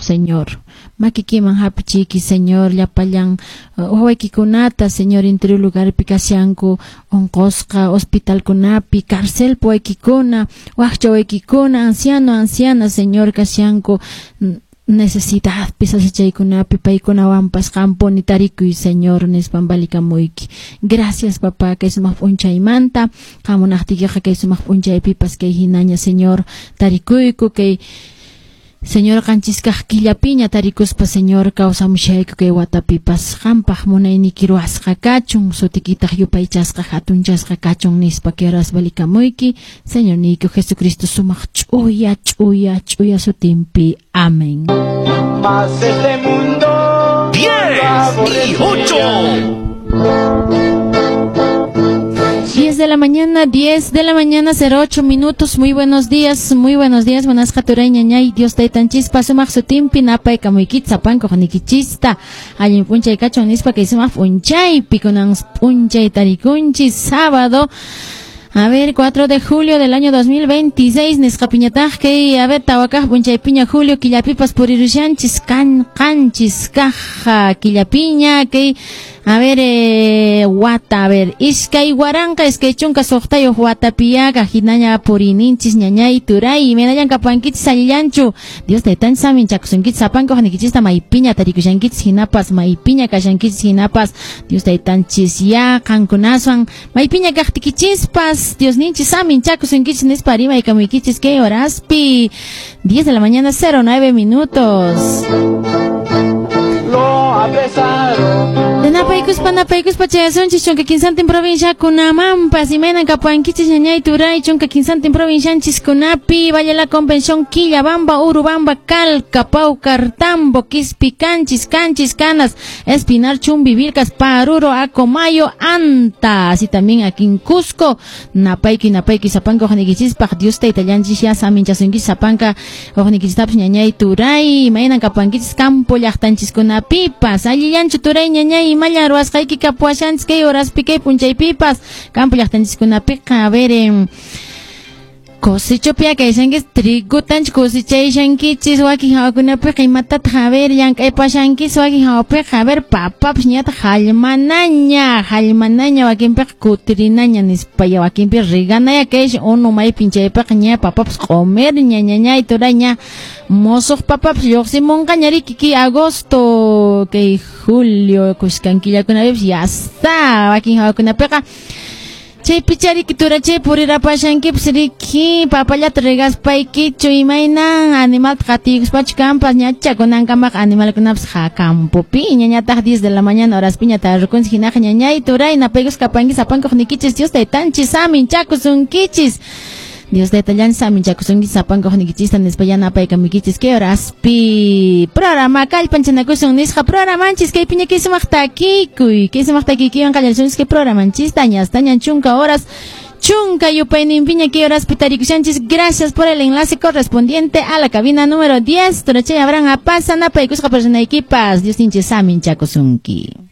Señor. Makikiman hapichiyki, Señor, llapallan wawaykikunata, Señor, interior lugarpi kashanku, onqosqa, hospitalkunapi, carcelpi waykikuna, wakcha waykikuna, anciano, anciana, Señor, kashanku, necesidadpi sasachaykunapi paykunawanpas qampuni tarikuy, Señor, nispan valikamuyki. Gracias, papá, kay sumaq p'unchaymanta, qamunaqtiykiqa kay sumaq p'unchaypipas kay hinaña, Señor, tarikuyku, kay Señor, qanchiskaq killapiña tarikuspa, Señor, kawsamushayku kay watapipas qampaq munayniki ruwasqa kachun, sutikitaq yupaychasqa hatunchasqa kachun nispa kay horas valikamuyki, Señor niyku Jesucristo sumaq ch'uya ch'uya ch'uya sutinpi. Amén. Mas este mundo 10 y 8. 10 de la mañana, 10 de la mañana, 08 minutos. Muy buenos días, muy buenos días. Buenas jaturay ñañay, Dios taytanchispa sumaq sutinpi napaykamuykit sapanku nikichista. Allin p'unchay kachun nispa kay sumaq p'unchaypi kunan p'unchay tarikunchis sábado. A ver, 4 de julio del año 2026, nisqapiñataq kay, a ver, tawakaq p'unchaypiña julio killapipas purirushanchis, kan, qanchis kaja killapiña, kay, a ver, wata, a ver, iskay waranqa, iskay chunka suqtayuq watapiyaqa, hinaña purininchis, ñañay, turay, imaynallan kapankichis allillanchu, Dios taytanchis saminchakusunkichis, sapanka uqnikichista maypiña tarikushankichis, hinapas, maypiña kashankichis, hinapas, Dios taytanchis ya, qankunaswan, maypiña kaqtikichispas, Dios ninchis saminchakusunkichis nispa rimaykamuykichis kay horaspi, 10 de la mañana, 09 minutos. Lo apresaron. De napaykuspa napaykuspa chayasunchis chunka kinsantin provinciakunamampas imaynan kapuankichis ñañay turay chunka kinsantin provincianchiskunapi Valle la Convención Quillabamba Urubamba Calca Paucartambo Quispicanchis Canchis Canas Espinar Chumbivilcas Paruro Acomayo Anta así también aquí en Cusco napayki napayki sapanka uqnikichispaq Dios taytallanchis ya saminchasunkichis sapanka uqnikichistapas ñañay turay imaynan kapuankichis campo llaqtanchiskunapipas allillanchu turay ñañay imallan ruwasqayki kapuashanchis kay horaspi kay p'unchaypipas campo llaqtanchiskunapiqa a ver cosechopia kayshankichis trigutanchik cosechayashankichis wakin hawakunapiqa imatataq a ver llank'aypashankichis wakin hawapiqa a ver papapas ñataq hallmanaña hallmanaña wakinpiqa kutirinaña nispa ya wakinpi reganaya kaysh unu maypin chaypiqa ña papapas q'umirña ñañay turaña mosuq papapas lluqsimunqaña riki kay agosto kay julio kuskan killakunapipas ya está wakin hawakunapiqa chaypicha riki turachay purirapashankipas riki papallata regaspaykichu imaynan animalta qatiykuspachu kanpas ñacha kunankamaqa animalkunapas ja campopi ñañataq 10 de la mañana horaspiña tarrukunchis hinaqa ñañay turay napaykusqa kapanki sapankuq nikichis Dios taytanchis saminchakusunkichis Dios taytallanchis saminchakusunkichis sapankuq nikichista nispa yanapaykamuykichis kay horaspi programa kallpanchanakusun nisqa programanchis kaypiña kay sumaq takikuy kay sumaq takikuywan qallarisunchis kay programanchista ñastañan chunka horas chunka yupayninpiña kay horaspi tarikushanchis. Gracias por el enlace correspondiente a la cabina número 10. Turachay Abraham Apaza napaykusqa personaykipas Dios ninchis saminchakusunki.